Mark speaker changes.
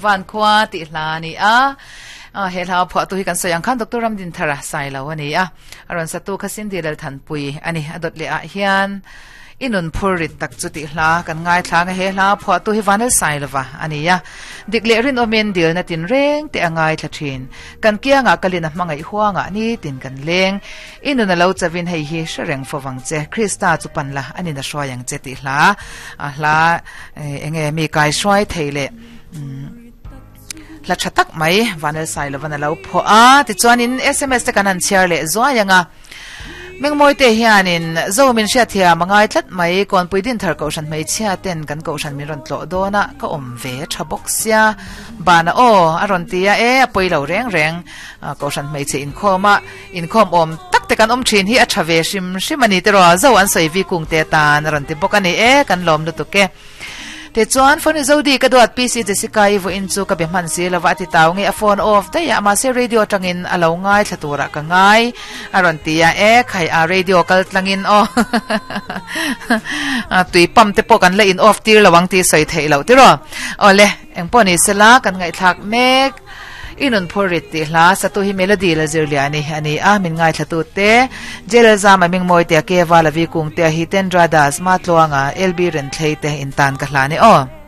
Speaker 1: Van khua tih hla a ni a. He hla a phuahtu hi kan sawi ang khan Doctor Ramdinthara Sailo a ni a. A rawn satu kha Cindy Lalthanpui a ni. A dawt leh ah hian I nun phur rit tak chu tih hla kan ngaithla ang a, he hla phuahtu hi Vanel Sailova a ni a. Dik leh rinawmin dilna tinreng te a ngaithla thin. Kan kiangah kalin a hmangaih huangah nitin kan leng. I nun a lo chavin hei hi hre reng fo vang che. Krista chu pan la, a nin a hruai ang che tih hla a hla enge mi kai hruai thei leh hla tha tak mai Vanel Sailovan a lo phuah a. Tichuanin sms te kan han chhiar leh zuai ang a. Mengmawi te hianin Zo min hriatthiam a ngai tlat mai, Kawnpui Dinthar Kohhran hmeichhia ten kan Kohhran min rawn tlawh dawn a, ka awm ve tha bawk sia. Bana aw a rawn ti a, e a pawi lo reng reng, Kohhran hmeichhe inkhawm a, inkhawm awm tak te kan awm thin hi a tha ve hrim hrim a ni tiraw, Zo an sawi vi kung te atan a rawn ti bawk a ni, e kan lawm lutuk e. Tichuan, phone Zodi ka duat PC Jessica i vawiin chu ka be hman si lova a ti tau nge a phone off daih a, mahse radio atangin a lo ngaithla turah ka ngai a rawn ti a, e khai a radio kal tlangin aw tui pump te pawh kan la in off tir lo ang tih sawi theih loh tiraw. Awle, engpawh ni sela kan ngaihthlak mek. I nun phur rit tih hla satu hi Melody la zir liah a ni a ni a, min ngaithlatu te, Jail Zama Mingmawi te, Keva Lavi Kungte, Hitendra Das, Matluanga, LB Renthlei te intan ka hlan e aw.